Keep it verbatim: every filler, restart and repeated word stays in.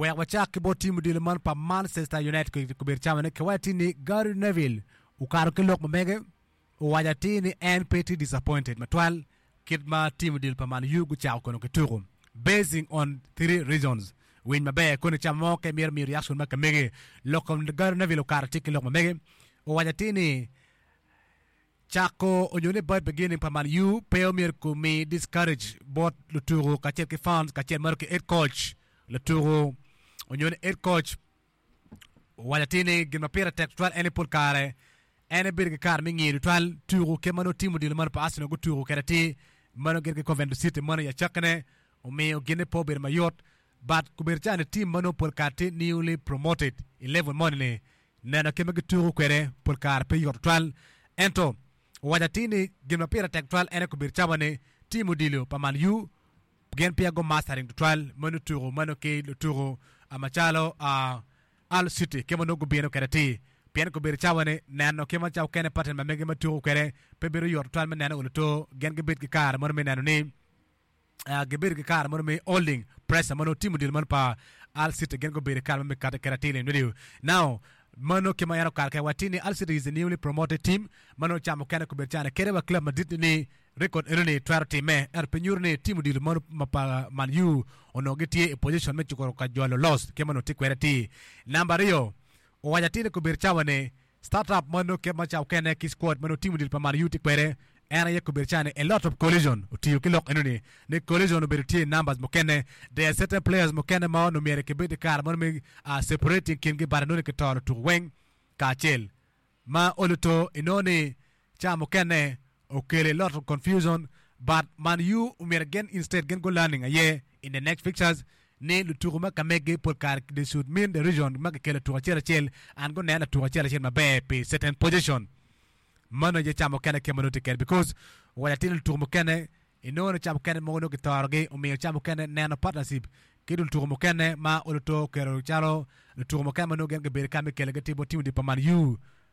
Wek wacak ki bot tim odilo man pa Manchester United kobedo camane ki waco ni Gary Neville okato ki lok ma mege owaco atir ni en pe tye disappointed matwal kit ma tim odilo pa Man U gucako kono ki tuko basing on three reasons winy maber koni cama mo ka imito miyo reaction ma ka mege lok kom Gary Neville okato tye ki lok ma mege owaco atir ni cako onyo ni bad beginning pa Man U pe omyero kumi discourage bot lutuku kacel ki fans kacel maro ki head coach lutuku onyo ni head coach owaco atir ni gin ma pire tek tutwal en ni pol kare en ebedo ki kare me ngiyo tutwal tuku kit ma nongo tim odilo mano pa Arsenal gutuku kede atir mano gin ki Coventry City mano i acakine omiyo gine pe obedo mayot but kobedo calo ni tim ma nongo pol kare tye newly promoted i level moni ni neno kit ma gituku kwede pol kare pe yot tutwal ento owaco atir ni gin ma pire tek tutwal en aye kobedo cawa ni tim odilo pa Man U gin peya go mastering tutwal mano tuku mano ki lutuku macalo uh, Hull City kit ma nongo gubino kwede atir pien kobedo cawa ni neno kit ma cawa okene pattern ma mege ma tuku kwede pe bedo yot tutwal me neno oluto gin gibed ki kare mono me neno ni uh, gibedo ki kare mono me holding pressure mano tim odilo mano pa Hull City gin gubedo ki kare me kate kwede atir ni now mano kit ma en okato kwede watir ni Hull City is a newly promoted team mano camo kene kobedo calo kede wa club madit ni record eno ni twero time ento pe nyuto ni tim odilo mano ma pa Man U onongo gitye i position me cukuro ka jolo loss kit ma onongo tye kwede atir namba aryo owaco atir ni kobedo cawa ni startup mano kit ma cawa okene ki squad mano tim odilo pa Man U tye kwede en aye kobedo cawa ni a lot of collision otiyo ki lok eno ni ni collision obedo tye i numbers mukene there are certain players mukene ma onongo myero kibed i kare mono me uh, separating kingi but inongo ni kitoro tuko weng kacel ma oluto inongo ni ca mukene okelo a lot of confusion but Man U omyero gin instead gin go learning aye in the next fixtures ni lutuku ma ka megi pol kare they should mean the region ma kikelo tuko acel acel and go neno tuko acel acel maber pi certain position mano aye ca mukene kit ma nongo tye kwede because owaco atir ni lutuku mukene inongo ni ca mukene mogo nongo kitorogi omiyo ca mukene neno partnership ki lutuku mukene ma oluto oketo calo lutuku mukene ma nongo gin gibedo ka me kelo gitye bot tim pa Man U